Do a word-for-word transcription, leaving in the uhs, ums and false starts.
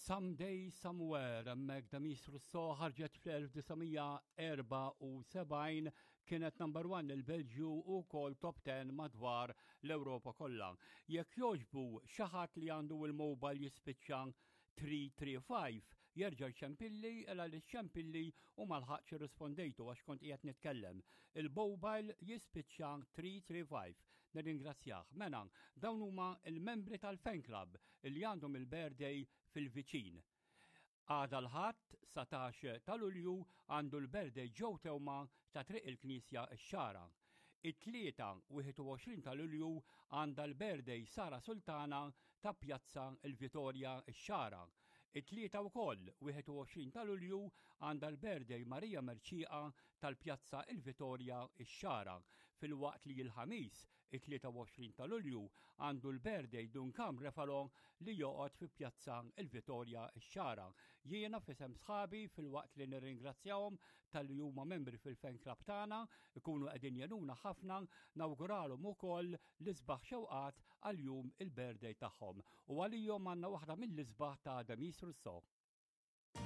Someday Somewhere, hemmhekk Demis Rousseau, ħarġet fl-elf disa' mija erbgħa u sebgħin, kienet number one il-Belġju u kol top ten madwar l-Ewropa kollha. Jekk jogħġbu, xi ħadd li għandu il-mobile jispiċċa tlieta tlieta ħamsa jerġa' ċempilli, ela li ċempilli u ma lħaqtx irrispondejtu għax kont qiegħed nitkellem. Il-mobile jispiċċa tlieta tlieta ħamsa. Nirringrazzjah. Mela, dawn huma il-membri tal-fan club li għandhom il-birthday fil-viċin. Għada l-Ħadd, satax ta' Lulju, għandu l-birthday Joe Teuma ta' Triq il-Knisja x-Xagħra. It-Tlieta, wieħed u għoxrin ta' Lulju, għandha l-birthday Sara Sultana ta' Pjazza il-Vitorja x-Xagħra. It-Tlieta wkoll, wieħed u għoxrin ta' Lulju, għandha l-birthday Marija Merċiqa tal-Pjazza il-Vitorja x-Xagħra. Filwaqt li l-Ħamis, it-tlieta u għoxrin ta' Lulju, għandu l-birthday Duncan Refalo li joqgħod fi Pjazza il-Vitorja x-Xagħra. Jiena f'isem sħabi, filwaqt li nirringrazzjahom talli huma membri fil-fan club tagħna, ikunu qegħdin jgħinuna ħafna, nawguralhom ukoll l-isbaħ xewqat għal jum il-birthday tagħhom. U għalihom għandna waħda mill-isbaħ ta' Demis Rousseau.